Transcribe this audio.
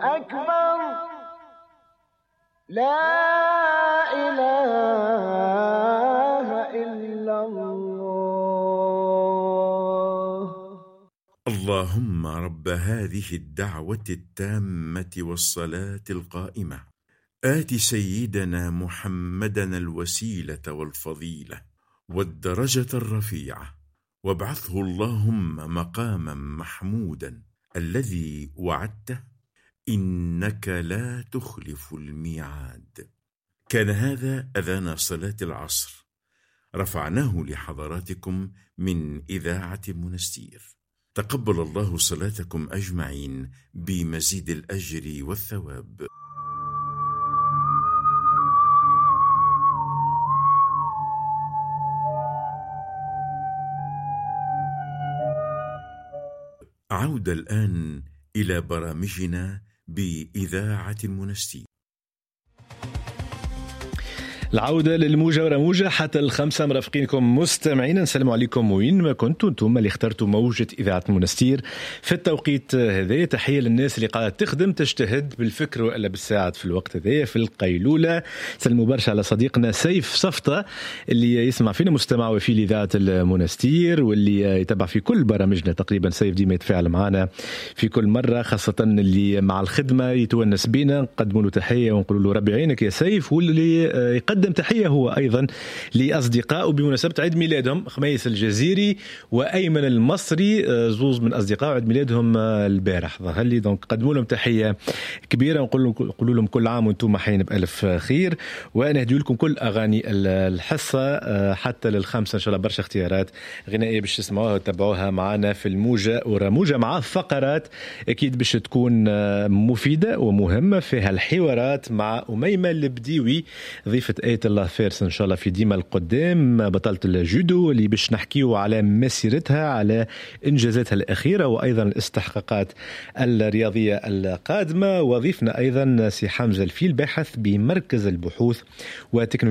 أكبر لا إله إلا الله. اللهم رب هذه الدعوة التامة والصلاة القائمة، آت سيدنا محمدا الوسيلة والفضيلة والدرجة الرفيعة، وابعثه اللهم مقاما محمودا الذي وعدته، إنك لا تخلف الميعاد. كان هذا أذان صلاة العصر، رفعناه لحضراتكم من إذاعة المنستير. تقبل الله صلاتكم أجمعين بمزيد الأجر والثواب. عودة الآن إلى برامجنا بإذاعة المنستير. العودة للموجة ورموجة حتى 5 مرافقينكم مستمعين. نسلم عليكم وين ما كنتوا، انتم اللي اخترتوا موجة إذاعة المنستير في التوقيت هذا. تحية للناس اللي قاعدة تخدم تجتهد بالفكر وإلا بالساعات في الوقت هذا في القيلولة. سلموا برشا على صديقنا سيف صفطة اللي يسمع فينا، مستمع وفي لإذاعة المنستير واللي يتابع في كل برامجنا تقريبا. سيف ديما يتفاعل معنا في كل مرة، خاصة اللي مع الخدمة يتونس بينا، نقدموا له تحية ونقول له ربي يعينك يا سيف. واللي يقدم تحية هو أيضا لأصدقائه بمناسبة عيد ميلادهم، خميس الجزيري وأيمن المصري، زوز من أصدقائه عيد ميلادهم البارح ظهر لي، donc قدموا لهم تحية كبيرة ونقول لهم كل عام وأنتم حين بألف خير. ونهدي لكم كل أغاني الحصة حتى 5 إن شاء الله، برشا اختيارات غنائية باش تسمعوها وتتبعوها معنا في الموجة ورموجة، مع فقرات أكيد باش تكون مفيدة ومهمة فيها الحوارات مع أميمة البديوي ضيفة آية الله فارس إن شاء الله في ديما القدام، بطلة الجودو اللي باش نحكيو على مسيرتها، على إنجازاتها الأخيرة وأيضا الاستحقاقات الرياضية القادمة. وضيفنا أيضا سي حمزة الفيل، باحث بمركز البحوث وتكنولوجيا